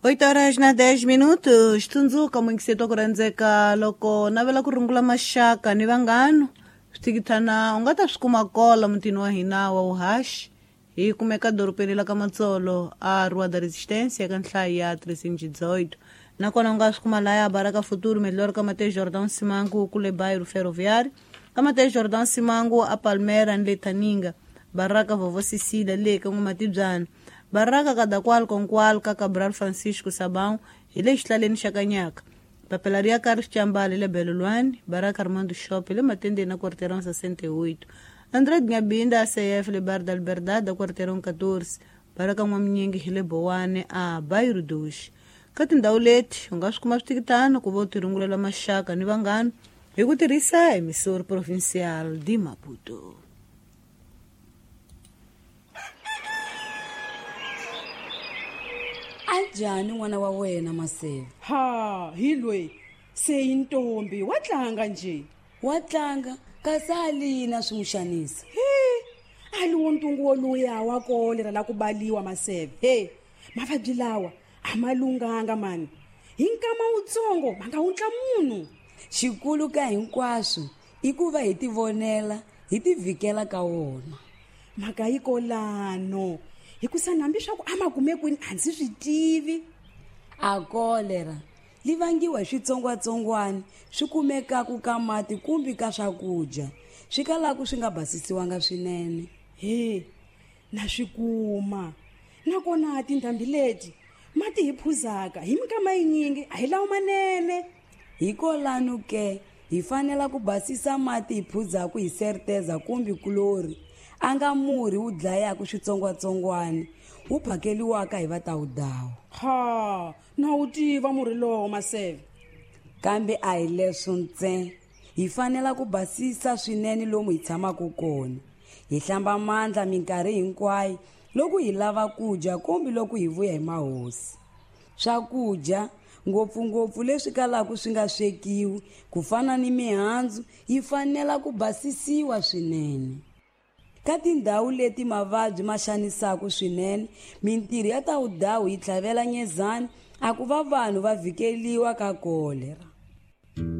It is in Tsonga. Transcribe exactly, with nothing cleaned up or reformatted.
Oito horas na dez minutos. Tsundzuka muyingiseti wa ku rhandzeka loko navela ku rungula maxaka ni vanghana switikithana u nga ta swi kuma kola mutini wa hina wa vuhaxi. Hi kumeka dorobeni la ka Matsolo a Rua da Resistência ka nhlayo ya trezentos e dezoito. Nakona u nga swi kuma laya Baraka Futuro melhor ka Mateus Jordão Simango kule bairro Ferroviário, ka Mateus Jordão Simango a Palmeiras ni le Taninga, Baraka Vovó Cecília le ka N'wamatibyana, Baraka Kadakwal Konkwal ka Cabral Francisco Sabão hi le xihlaleni xa Kanyaka, Papelaria Carlos Chambale le Belolwane, Baraka Armando Shop le Matendeni na Quarteirão sessenta e oito, André Ngabinda A C F le Bar da Liberdade da Quarteirão catorze, Baraka N'waminyingi hi le Bowane a Bairro dois. Ka tindhawu leti u nga swi kuma switikitano ku va u tirungulela maxaka ni vanghana hi ku tirhisa Emissora Provincial de Maputo. Anjhani n'wana wa wena Maseve? Ha, hi loyi se i ntombi wa tlanga nje. Wa tlanga kasi a lina swi n'wi xanisa. He, a li wo ntungu woluya wa kolera la ku baliwa Maseve. He, mavabyi lawa a ma lunghanga mani. Hi nkama wutsongo ma nga wutla munhu. Xikulu ka hinkwaswo i ku va hi tivonela hi tivhikela ka wona. Mhaka yi kolano hikusa hambi swa ku a ma kume kwini a ndzi swi tivi. A kolera li vangiwa hi switsongwatsongwana swi kumekaku ka mati kumbe ka swakudya swi kalaku swi nga basisiwanga swinene. He, na swi kuma. Nakona tindhambi leti mati hi phuzaka hi minkama yinyingi a hi lawo manene. Hikolano ke hi fanela ku basisa mati hi phuzaku hi certeza kumbe kulori a nga murhi wu dlayaku switsongwatsongwana wu phakeliwaka hi vatawudawu. Ha, na wu tiva murhi lowo Maseve. Kambe a hi leswo ntsena, hi fanela ku basisa swinene lomu hi tshamaka kona, hi hlamba mandla minkarhi hinkwayo loko hi lava ku dya kumbe loko hi vuya hi mahosi. Swakudya ngopfungopfu leswi kalaka swi nga swekiwi ku fana ni mihandzu yi fanela ku basisiwa swinene. Ka tindhawu leti mavabyi ma xanisaka swinene, mintirho ya tawudawu yi tlhavela nyezana a ku va vanhu va vhikeliwa ka kolera.